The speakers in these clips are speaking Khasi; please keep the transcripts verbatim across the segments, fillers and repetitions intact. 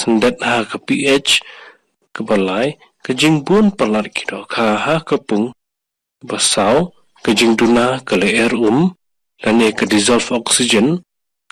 syndet ha ka pH. Kaba lai, ka jingbun palat ki dohkha ha ka pung. Kaba saw, ka jingduna ka lyer um lane ka dissolved oxygen.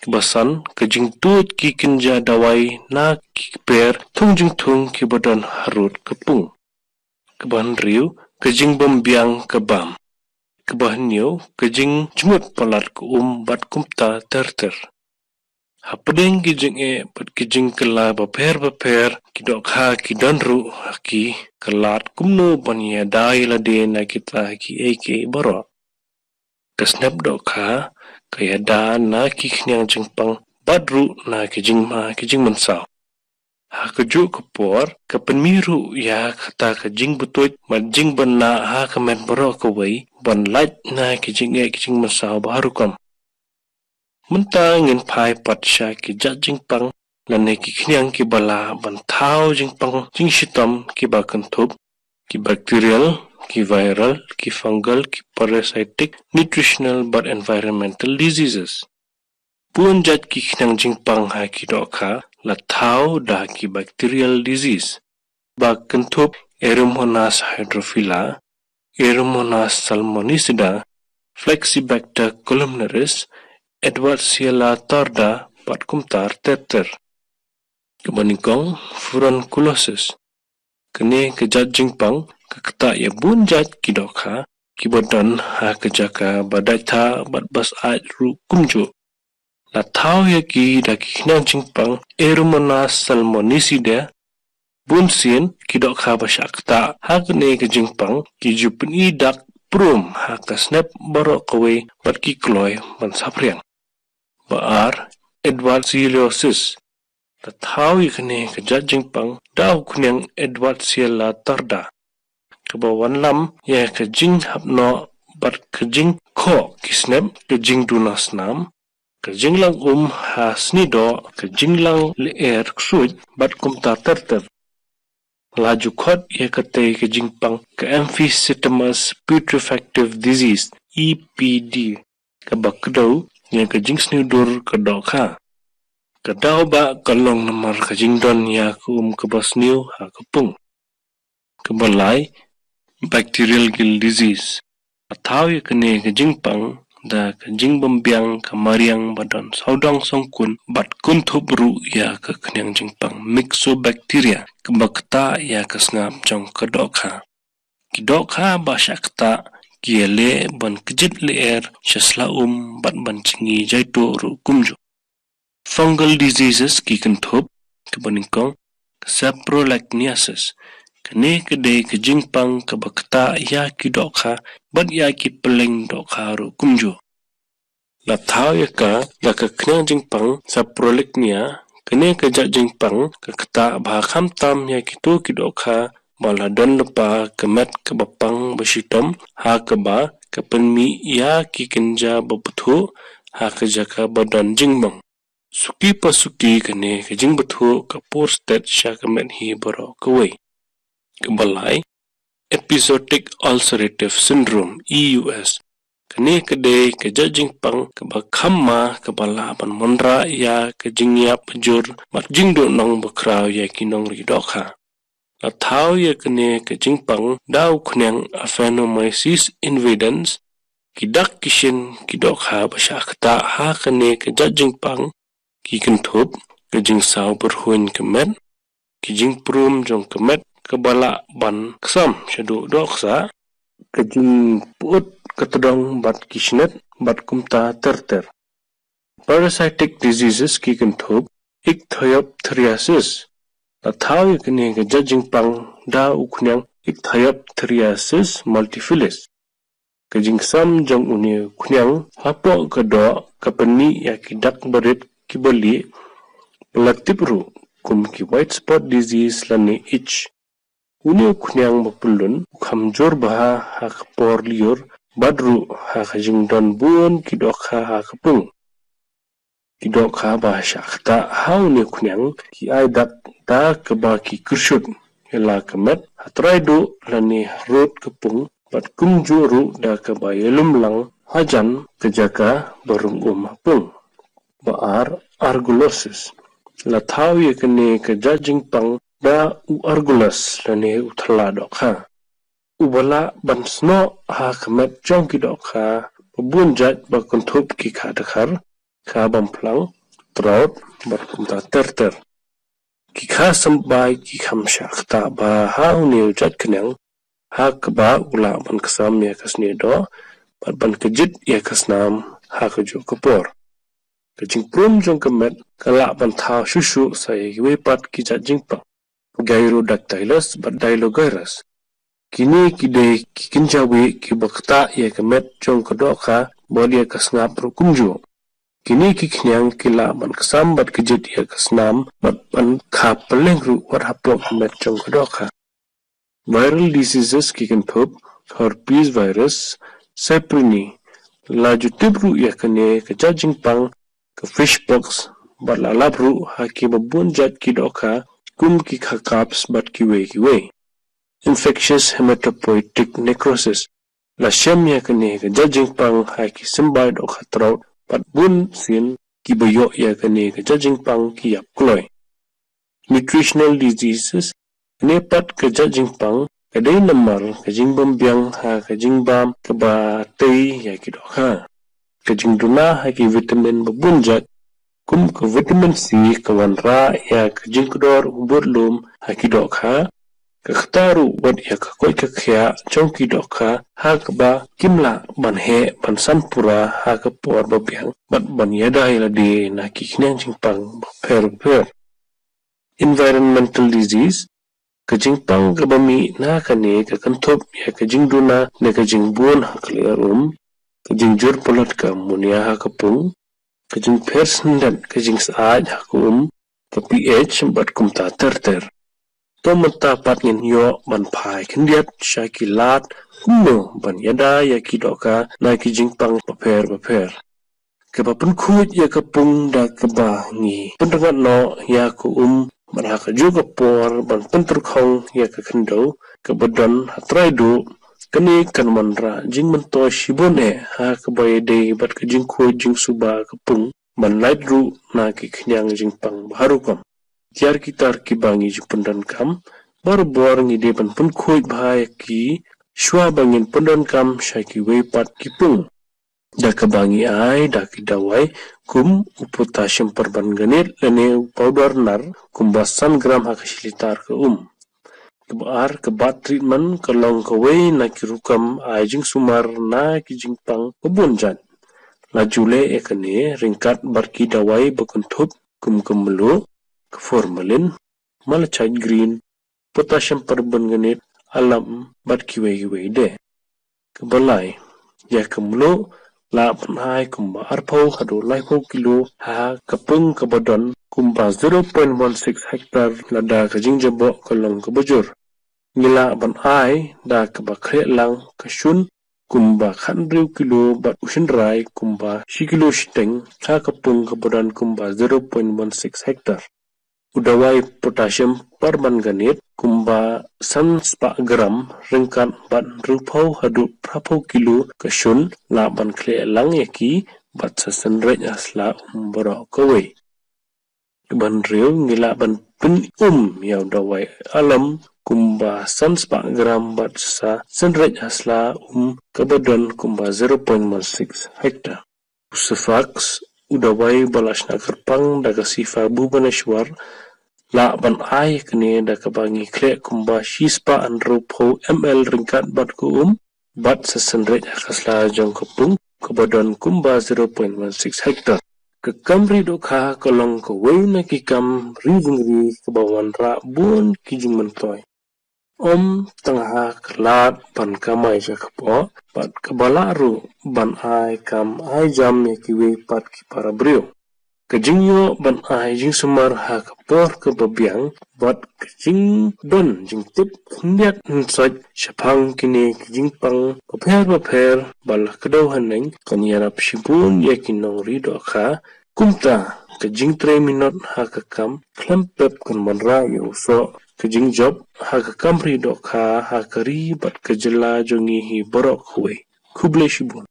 Kaba san, ka jingtuid ki kynja dawai na ki kper thung jingthung kiba don harud ka pung. Kaba hynriew, ka jingbymbiang ka bam. Kaba hynñiew, ka jingjngut palat ka um bad kumta ter ter. Hapdeng ki jingeh bad ki jingkylla bapher bapher, ki dohkha ki don ruh ha ki kylla kumno ban ïada ïa lade na kita kiei kiei baroh. Ka snep dohkha ka ïada na ki khñiang jingpang bad ruh na ki jingma ki jingmynsaw. Ha kajuh ka por, ka pynmih ruh ïa kata ka jingbtuid bad jingbna ha ka met baroh kawei ban lait na ki jingeh ki jingmynsaw ba ha rukom. Mynta ngin phai pat sha ki jait jingpang lane ki khñiang kiba lah ban thaw jingpang jingshitom kiba kynthup, ki bacterial, ki viral, ki fungal, ki parasitic, nutritional bad environmental diseases. Bun jait ki khñiang jingpang ha ki dohkha la thaw da ki bacterial disease ba kynthup Aeromonas hydrophila, Aeromonas salmonicida, Flexibacter columnaris, Edwardsella tarda bad kumta ter ter. Kaba nyngkong, furunculosis. Kane ka jait jingpang ka ktah ïa bun jait ki dohkha kiba don ha ka jaka ba dait tha bad ba syaid ruh kumjuh. La thaw ïa ki da ki khñiang jingpang Aeromonas salmonicida. Bun sien ki dohkha ba shah ktah ha kane ka jingpang ki ju pyni dak prum ha ka snep baroh kawei bad ki kloi ban saphriang. Ba ar, Edwardsiellosis. La thaw ïa kane ka jait jingpang da u khñiang Edwardsiella tarda. Kaba wanlam ïa ka jinghap noh bad ka jingkhoh ki snep, ka jingduna snam, ka jinglang um ha snidoh, ka jinglang lyer ksuid bad kumta ter ter. La ju khot ïa katei ka jingpang ka emphysematous putrefactive disease, E P D. Kaba kdew ïa ka jingsniew dur ka dohkha. Ka daw ba ka long namar ka jingdon ïa ka um kaba sniew ha ka pung. Kaba lai, bacterial gill disease. La thaw ïa kane ka jingpang da ka jingbymbiang ka mariang ba don sawdong songkun bad kynthup ruh ïa ka khñiang jingpang Myxobacteria kaba ktah ïa ka sngap jong ka dohkha. Ki dohkha ba shah ktah ki ïaleh ban kjit lyer sha sla um bad ban jngi jaituh ruh kumjuh. Fungal diseases ki kynthup, kaba nyngkong, saprolegniasis. Kane ka dei ka jingpang kaba ktah ïa ki dohkha bad ïa ki pylleng dohkha ruh kumjuh. La thaw ïa ka da ka khñiang jingpang saprolegnia. Kane ka jait jingpang ka ktah ba khamtam ïa kito ki dohkha ba la don lypa ka met kaba pang ba shitom, ha kaba ka pynmih ïa ki kynja ba bthuh ha ka jaka ba don jingmong. Suki pa suki kane ka jingbthuh ka pur stet sha ka met hi baroh kawei. Kaba lai, episodic ulcerative syndrome, E U S. Kane ka dei ka jait jingpang kaba kham ma kaba lah ban wanrah ïa ka jingïap jur bad jingduhnong bakhraw ïa ki nongri dohkha. La thaw ïa kane ka jingpang da u khñiang Aphanomyces invadans. Ki dak ki shin ki dohkha ba shah ktah ha kane ka jait jingpang ki kynthup, ka jingsaw byrhuiñ ka met, ki jingprum jong ka met kaba lah ban ksam shaduh dohksah, ka jingpyut ka tdong bad ki shnet bad kumta ter ter. Parasitic diseases ki kynthup, ichthyopthriasis. La thaw ïa kane ka jait jingpang da u khñiang Ichthyopthriasis multifilus. Ka jingsam jong une u khñiang hapoh ka doh ka pynmih ïa ki dak barit kiba lieh, ba la tip ruh kum ki white spot disease lane itch. Une u khñiang ba pyllun u kham jur bha ha ka por lyiur bad ruh ha ka jingdon bun ki dohkha ha ka pung. Ki dohkha ba shah ktah ha une u khñiang ki ai dak da kaba ki kyrshut ïa la ka met ha trai duh lane harud ka pung bad kumjuh ruh da kaba ïalum lang hajan ka jaka ba rung um ha pung. Ba ar, argillosis. La thaw ïa kane ka jait jingpang da u Argulus lane u thyllah dohkha, uba lah ban snoh ha ka met jong ki dohkha ba bun jait ba kynthup ki kha dkhar, kha bamphlang, trout bad kumta ter ter. Ki kha symbai ki kham shah ktah bha ha une u jait khñiang, ha kaba u lah ban ksam ïa ka snieh doh bad ban kjit ïa ka snam ha kajuh ka por. Ka jingprum jong ka met ka lah ban thaw shuh shuh sa ïa kiwei pat ki jait jingpang, Gyrodactylus bad Dylogyrus. Kine ki dei ki kynja wieh kiba ktah ïa ka met jong ka dohkha bad ïa ka sngap ruh kumjuh. Kine ki khñiang ki lah ban ksam bad kjit ïa ka snam bad ban kha pylleng ruh wat hapoh ka met jong ka dohkha. Viral diseases ki kynthup, herpes virus, Saprinea. La ju tip ruh ïa kane ka jait jingpang, ka fish pox, bad la lap ruh ha kiba bun jait ki dohkha, kum ki kha carps bad kiwei kiwei. Infectious hematopoietic necrosis. La shem ïa kane ka jait jingpang ha ki symbai dohkha trout bad bun sien kiba ïoh ïa kane ka jait jingpang ki ïap kloi. Nutritional diseases, kane pat ka jait jingpang ka dei namar ka jingbym biang ha ka jingbam kaba tei ïa ki dohkha. Ka jingduna ha ki vitamin ba bun jait, kum ka vitamin C, ka wanrah ïa ka jingkdor u budlum ha ki dohkha, ka ktah ruh wat ïa ka koit ka khiah jong ki dohkha ha kaba kim lah ban heh ban san pura ha ka por ba biang bad ban ïada ïa lade na ki khñiang jingpang bapher bapher. Environmental disease, ka jingpang kaba mih na kane ka kynthup ïa ka jingduna ne ka jingbun ha ka lyer um, ka jingjur pynlut ka ammonia ha ka pung, ka jingpher syndet ka jingsyaid ha ka um, ka pH bad kumta ter ter. To mynta pat ngin ïoh ban phai khyndiat sha ki lad kumno ban ïada ïa ki dohkha na ki jingpang bapher bapher. Kaba pynkhuid ïa ka pung da kaba ngi pynrngat noh ïa ka um bad ha kajuh ka por ban pyntyrkhong ïa ka khyndew kaba don ha trai duh, kane kan wanrah jingmyntoi shibun eh ha kaba ïadei bad ka jingkhuid jingsuba ka pung ban lait ruh na ki khñiang jingpang bha rukom. Tiar ki tar kiba ngi ju pyndonkam, barabor ngi dei ban pynkhuid bha ïa ki shwa ba ngin pyndonkam sha kiwei pat ki pung. Da kaba ngi ai da ki dawai kum u potassium permanganate lane u powder nar kumba san gram ha ka shi litar ka um. Kaba ar, ka bat treatment ka long kawei na ki rukom ai jingsumar na ki jingpang ba bun jait. La ju leh ïa kane ryngkat bad ki dawai ba kynthup kum ka mluh, ka formalin, malachite green, potassium permanganate, alum bad kiwei kiwei de. Kaba lai, ïa ka mluh lah ban ai kumba arphew haduh laiphew kilo ha ka pung kaba don kumba zero point one six hektar lada ka jingjaboh ka long kaba jur. Ngi lah ban ai da kaba khleh lang ka shun kumba khathynriew kilo bad u shynrai kumba shi kilo shiteng ha ka pung kaba don kumba zero point one six hektar. U dawai potassium permanganate kumba san spah gram ryngkat bad hynriewphew haduh phraphew kilo ka shun lah ban khleh lang ïa ki bad sa synreit ha sla um baroh kawei. Kaba hynriew ngi lah ban pyn-um ïa u dawai alum kumba san spah gram bad sa synreit ha sla um kaba don kumba zero point one six hektar. U Cefax, u dawai ba la shna kyrpang da ka shifa Bhubaneswar, lah ban ai kane da kaba ngi khleh kumba shi spah hynriewphew M L ryngkat bad ka um bad sa synreit ha ka sla jong ka pung kaba don kumba zero point one six hektar. Ka kam ri dohkha ka long kawei na ki kam ri jingri kaba wanrah bun ki jingmyntoi. Ym tang ha ka lad ban kamai sha kpoh bad kaba lah ruh ban ai kam ai jam ïa kiwei pat ki para briew. Ka jingïoh ban ai jingsumar ha ka por kaba biang bad ka jingdon jingtip khyndiat khynsoit shaphang kine ki jingpang bapher bapher ba la kdew haneng kan ïarap shibun ïa ki nongri dohkha. Kumta ka jingtrei minot ha ka kam khlem pep kan wanrah ïa u soh ka jingjop ha ka kam ri dohkha ha ka ri bad ka jylla jong ngi hi baroh kawei. Khublei shibun.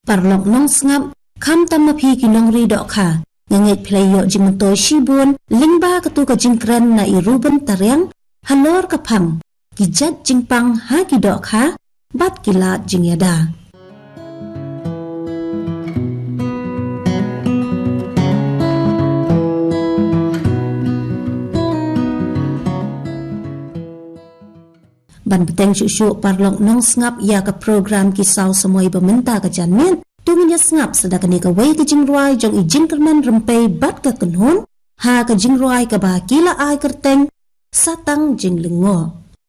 Paralok nongsngap, khamtam ma phi ki nongri dohkha, Nga ngeit phi la ïoh jingmyntoi shibun lyngba katu ka jingkren na i Reuben Tariang halor ka phang ki jait jingpang ha ki dohkha bad ki lad jingïada. Ban bteng shuh shuh paralok nongsngap ïa ka program Ki Saw Samoi ba mynta ka janmiet, to ngin ïa sngap sa da kane kawei ka jingrwai jong i Jingkyrmen Rympei bad ka Kynhun ha ka jingrwai kaba ki la ai kyrteng Satang Jinglyngngoh.